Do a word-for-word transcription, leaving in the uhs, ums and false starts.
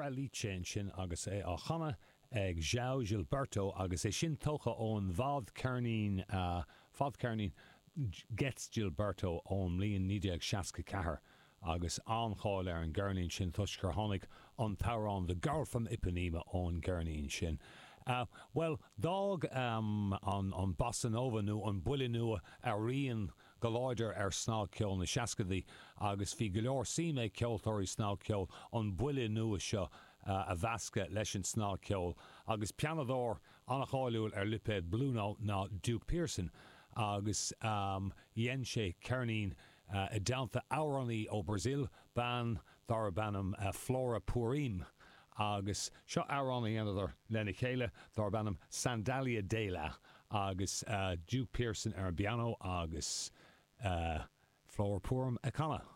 Floralice ansin agus é á chanadh ag João Gilberto agus é sin tógtha ón bhfadcheirnín fadcheirnín Getz Gilberto ón mbliain naoi déag seasca ceathair agus an-cháil ar an gceirnín sin toisc gur tháinig an t-amhrán The Girl from Ipanema ón gceirnín sin. Bhuel, d'fhág an bossa nova nó an buille nua a rian go láidir ar snagcheol na seascaidí agus bhí go leor suim ag ceoltóirí snagcheoil an buille nua seo a mheascadh leis an snagcheol agus pianadóir an-cháiliúil ar lipéad Blue Note ná Duke Pearson agus dhein sé ceirnín i dteannta amhránaí ó Brazil, bean darb ainm Flora Purim agus seo amhrán a dheineadar lena chéile darb ainm Sandália Dela agus Duke Pearson ar an bpianó agus Flora Purim ag canadh.